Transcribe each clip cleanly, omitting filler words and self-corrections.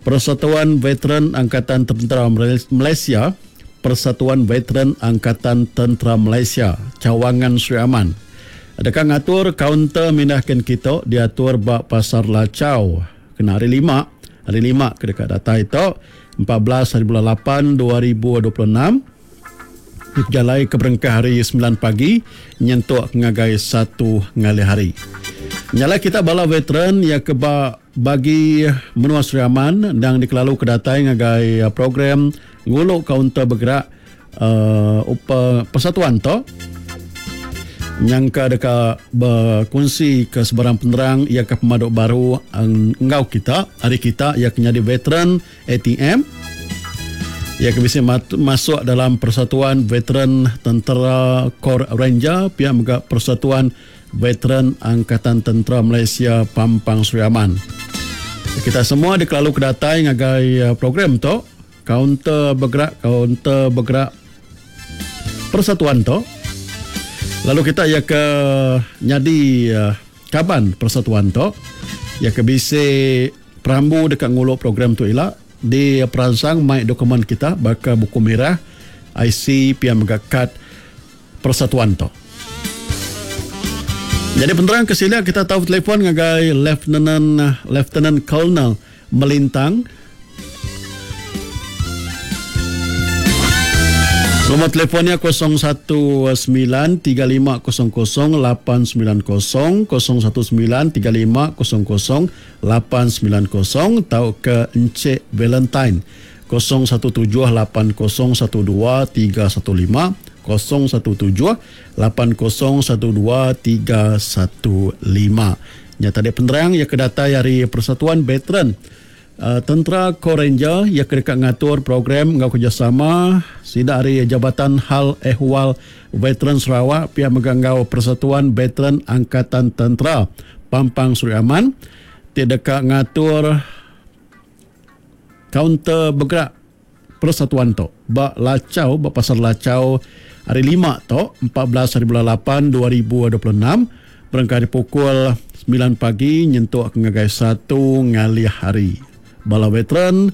Persatuan Veteran Angkatan Tentera Malaysia, Persatuan Veteran Angkatan Tentera Malaysia, Cawangan Sri Aman deka ngatur kaunter mindah kin kitu diatur ba Pasar Lachau kena Hari Lima, Hari Lima ke deka datai tu, 14 haribulan lapan 2026. Dipejalai ke berengkah ari semilan pagi nyentuk ngagai satu ngalih hari. Nya alai kita bala veteran iya ke ba bagi menua Sri Aman endang dikelalu ke datai ngagai program ngulu kaunter begerak uhh persatuan tu nyangka deka bekunsi ke sebarang penerang iya ke pemadu baru enggau kita ari kita iya ke nyadi veteran ATM iya ke bisi masuk dalam Persatuan Veteran Tentera Kor Ranger pia mega Persatuan Veteran Angkatan Tentera Malaysia Pampang Sri Aman. Kita semua dikelalu ke datai ngagai eh, program tu kaunter bergerak kaunter bergerak persatuan tu. Lalu kita iya ke nyadi eh, kaban persatuan tu iya ke bisi Perambu deka ngulu program tu ila diperansang mai dokumen kita baka buku mirah, IC pia mega kad persatuan tu. Nyadi penerang ke silik kita tau betelefon ngagai Leftenan Leftenan Colonel Melintang. Nombor telefon nya 019 3500 890 019 3500 890 tauka Encik Valentine 017 8012 315 017 8012 315. Nya tadi penerang iya ke datai ari Persatuan Veteran Tentera Kor Ranger iya ke deka ngatur program enggau kerejasama sida ari Jabatan Hal Ehwal Veteran Sarawak pia mega enggau Persatuan Veteran Angkatan Tentera Pampang Sri Aman ti deka ngatur kaunter begerak persatuan tu ba Lachau ba Pasar Lachau hari Lima tu 14 haribulan 8 2026 berengkah ari pukul 9 pagi nyentuk ke ngagai 1 ngalih hari. Bala veteran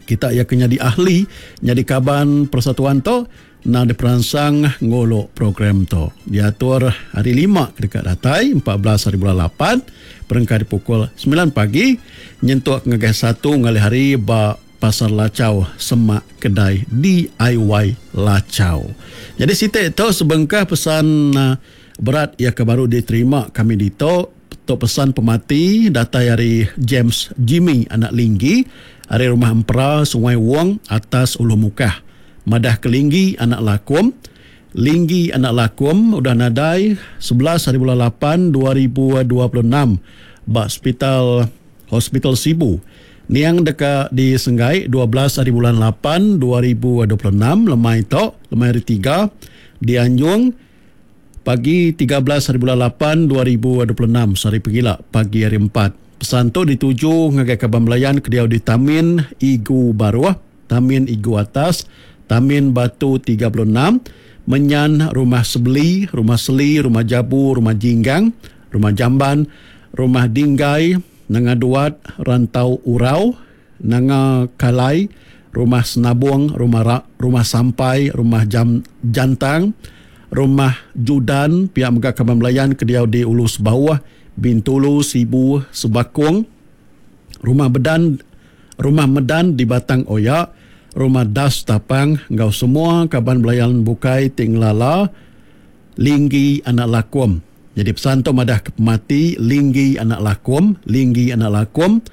kita iya ke nyadi ahli nyadi kaban persatuan tu Endang diperansang ngulu program tu. Diatur hari Lima ke deka datai, 14 haribulan lapan, berengkah ari pukul semilan pagi nyentuk ngagai satu ngalih hari ba Pasar Lachau semak kedai DIY Lachau. Nyadi siti tu sebengkah pesan berat iya ke baru diterima kami ditu. Tu pesan pemati datai ari James Jimmy anak Linggi ari Rumah Empera Sungai Wong atas Ulu Mukah. Madah ke Linggi anak Lakum. Linggi anak Lakum udah nadai 11 haribulan 8 2026 ba sepital Hospital Sibu. Niang deka disenggai 12 haribulan 8 2026 lemai tu, lemai hari tiga dianjung Pagi 13 haribulan 8 2026 sehari pegila pagi hari empat. Pesan tu dituju ngagai kaban belayan ke diau di Tamin Igu Baruh, Tamin Igu Atas, Tamin Batu 36, Menyan Rumah Sebeli, Rumah Seli, Rumah Jabu, Rumah Jinggang, Rumah Jamban, Rumah Dinggai, Nanga Duat, Rantau Urau, Nanga Kalai, Rumah Senabong, Rumah Ra, Rumah Sampai, Rumah Jam, Jantang, Rumah Judan, pia mega kaban belayan ke diau di Ulu Sebauh, Bintulu, Sibu, Sebakong, Rumah Bedan, Rumah Medan di Batang Oya, Rumah Das Tapang enggau semua kaban belayan bukai ti ngelala Linggi anak Lakum. Nyadi pesan tu madah ke pemati Linggi anak Lakum, Linggi anak Lakum,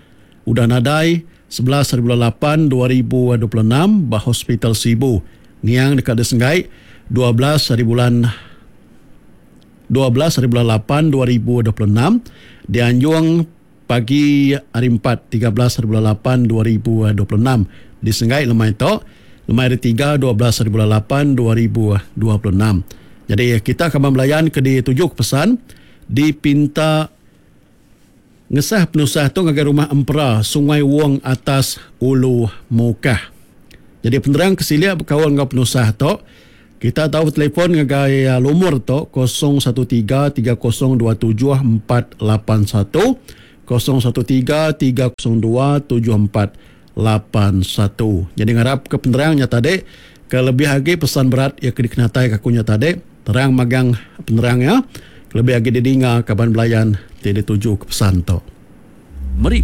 Udah nadai, 11 haribulan 8 2026 ba Hospital Sibu. Niang deka disenggai 12 haribulan 12 haribulan 8 2026 dianjung pagi hari 4 13 haribulan 8 2026 disenggai lemai tu lemai hari 3 12 haribulan 8 2026. Jadi kita kaban belayan ke dituju ke pesan dipinta Ngesah penusah tu ngagai Rumah Empera, Sungai Wong Atas, Ulu Mukah. Nyadi penerang ke silik bekaul enggau penusah tu, kita tau betelefon ngagai lumur tu 013 3027 481, 013 302 7481. Nyadi ngarap ke penerang nya tadi ke lebih agi pesan berat iya ke dikenatai ke aku nya tadi terang magang penerang iya kelebih agi didinga kaban belayan ti dituju ke pesan tu.